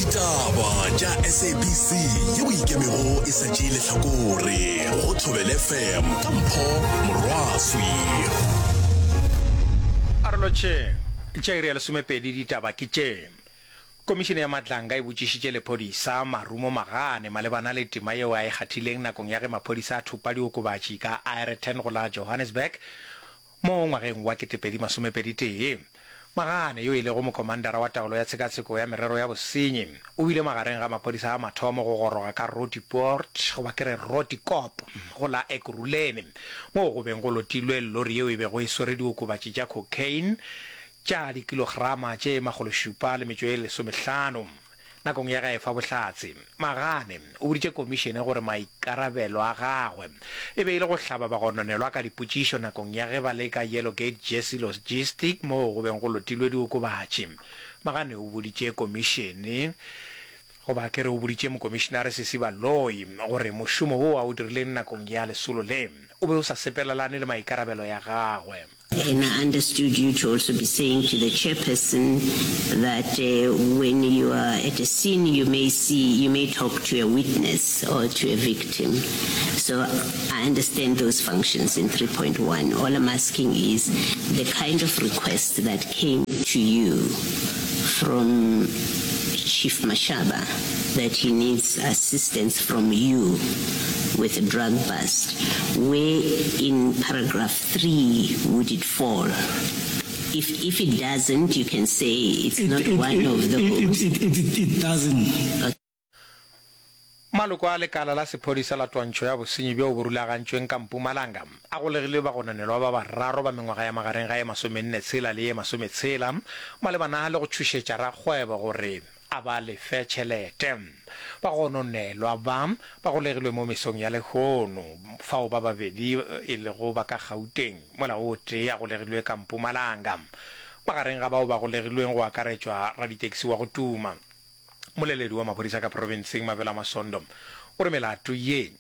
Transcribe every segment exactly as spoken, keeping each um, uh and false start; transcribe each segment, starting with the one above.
Ditaba tša S A B C yeo ikemego e sa tšee lehlakore go Thobela F M ka Mpho Morwaswi. A re lotšheng. Tša iri ya lesomepedi ditaba ke tše. Komišene ya Madlanga e botšišitše lephodisa Marumo Magane malebana le tema yeo a e kgathileng nakong ya ge maphodisa a thopa diokobatši ka Aeroton go la Johannesburg mo ngwageng wa ketepedi masomepedi tee. Magane, yo e lego mokomandara wa taolo ya tshekatsheko ya merero ya bosenyi, o bile magareng ga maphodisa a mathomo go goroga ka Roodepoort goba ke re Roodekop go la Ekurhuleni moo go beng go lotilwe lori yeo e bego e swere diokobatši tša cocaine tša dikilograma tše makgološupa le metšo e lesomehlano. Nakong ya ge a efa bohlatse, Magane o boditše komišene gore maikarabelo a gagwe e be e le go hlaba bagononelwa ka dipotšišo nakong ya ge ba le ka Yellow Gate Jersey Logistic moo go beng go lotilwe diokobatši. Magane o boditše komišene goba ke re o boditše mokomišenare Sesi Baloyi gore mošomo wo a o dirileng nakong ya lesolo le o be o sa sepelelane le maikarabelo ya gagwe. And I understood you to also be saying to the chairperson that uh, when you are at a scene, you may see, you may talk to a witness or to a victim. So I understand those functions in three point one. All I'm asking is the kind of request that came to you from Chief Mashaba that he needs assistance from you with a drug bust, where in paragraph three would it fall? If, if it doesn't, you can say it's It, not it, one it, of it, those. it, it, it, it doesn't. Maloko a lekala la sephodisa la twantšho ya bosenyi bjo bo rulagantšweng ka Mpumalanga a golegile bagononelwa ba bararo ba mengwaga ya magareng ga ye masomenne tshela le ye masometshela malebana le go tšhošetša rakgwebo gore a ba lefe tšhelete. Bagononelwa ba ba golegilwe mo mesong ya lehono, fao ba babedi e lego ba ka Gauteng mola o tee a golegilwe ka Mpumalanga. Magareng ga bao ba golegilweng go akaretšwa raditekisi wa go tuma. Moleledi wa maphodisa ka profenseng Mabela Masondo o re melato ye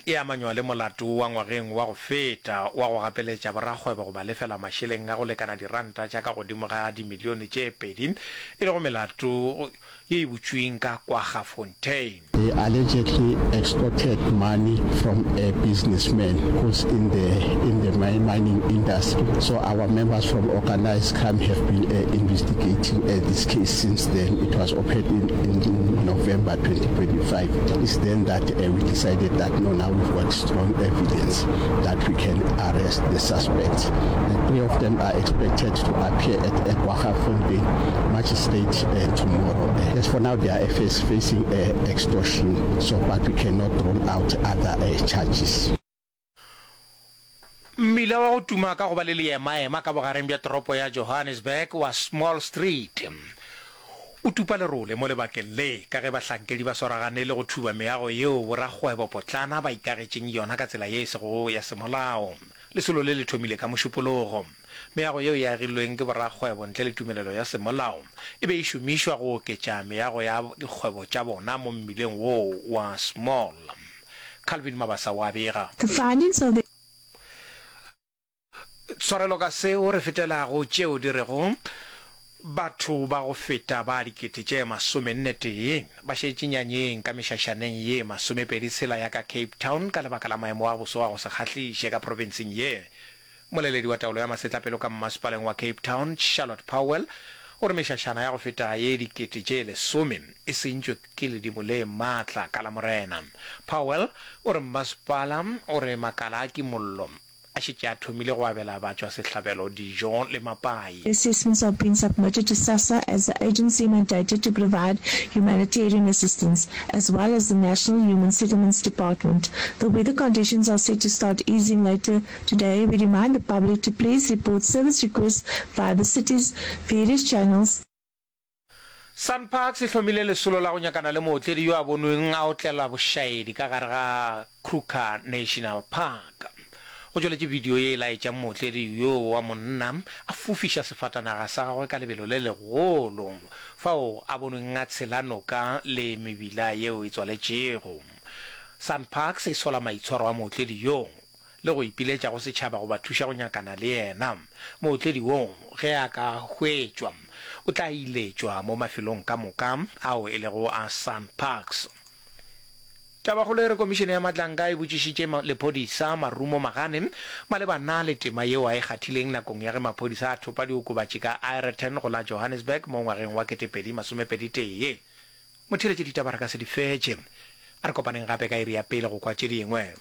e amanywa le molato wa ngwageng wa go feta wa go gapeletša borakgwebo go ba lefela mašeleng a go lekana diranta tša ka godimo ga dimilione tše pedi, e lego melato ye e butšweng ka Kwaggafontein. They allegedly extorted money from a businessman who's in the in the mining industry. So our members from organized crime have been uh, investigating uh, this case since then. It was opened in, in November twenty twenty-five. It's then that uh, we decided that no, now we've got strong evidence that we can arrest the suspects. The three of them are expected to appear at Kwaggafontein Magistrate uh, tomorrow. As for now, they are face, facing uh, extortion, so but we cannot rule out other uh, charges. Mmila wa go tuma ka go ba le leemaema ka bogareng bja toropo ya Johannesburg wa Small Street o tupa lerole mo lebakeng le ka ge bahlankedi ba swaragane le go thuba meago yeo borakgwebo potlana ba ikagetšeng yona ka tsela ye e sego ya semolao. Lesolo le le thomile ka Mošupologo. Meago yeo e agilweng ke borakgwebo ntle le tumelelo ya semolao e be e šomišwa go oketša meago ya dikgwebo tša bona mo mmileng woo wa Small. Calvin Mabasa wa bega. The findings of the Tshwarelo ka seo, re fetelago tšeo di rego batho ba go feta ba dikete tše masomenne tee ba šetše nyanyeng ka mešašaneng ye masomepedi tshela ya ka Cape Town ka lebaka la maemo a boso a go se kgahliše ka profenseng ye. Moleledi wa taolo ya masetlapelo ka mmasepaleng wa Cape Town, Charlotte Powell, o re mešašana ya go feta ye dikete tše lesome e sentšwe ke ledimo le maatla ka Lamorena. Powell o re mmasepala o re makala a kimollo a šetše a thomile go abela batšwasehlabelo dijo le mapai. Assessments are being submitted to SASSA as the agency mandated to provide humanitarian assistance, as well as the National Human Settlements Department. The weather conditions are set to start easing later today. We remind the public to please report service requests via the city's various channels. SANParks e hlomile lesolo la go nyakana le mootledi yo a bonweng a otlela bošaedi ka gare ga Kruger National Park. Go tšweletše video ye e laetšang mootledi yo wa monna a fofiša sefatanaga sa gagwe ka lebelo le legolo fao a bonweng a tshela noka le mebila yeo e tswaletšego. SANParks e sola maitshwaro a mootledi yo le go ipiletša go setšhaba go ba thuša go nyakana le yena. Mootledi wo ge a ka hwetšwa o tla iletšwa mo mafelong ka moka ao e lego a SANParks. Tabakgolo e re Komišene ya Matlanka e botšišitše lephodisa Marumo Magane malebana le tema yeo a e kgathileng nakong ya ge maphodisa a thopa diokobatši ka Aeroton go la Johannesburg mo ngwageng wa ketepedi masomepedi tee. Motheeletši ditaba re ka se di fetše. A re kopaneng gape ka iri ya pele go kwa tše dingwe.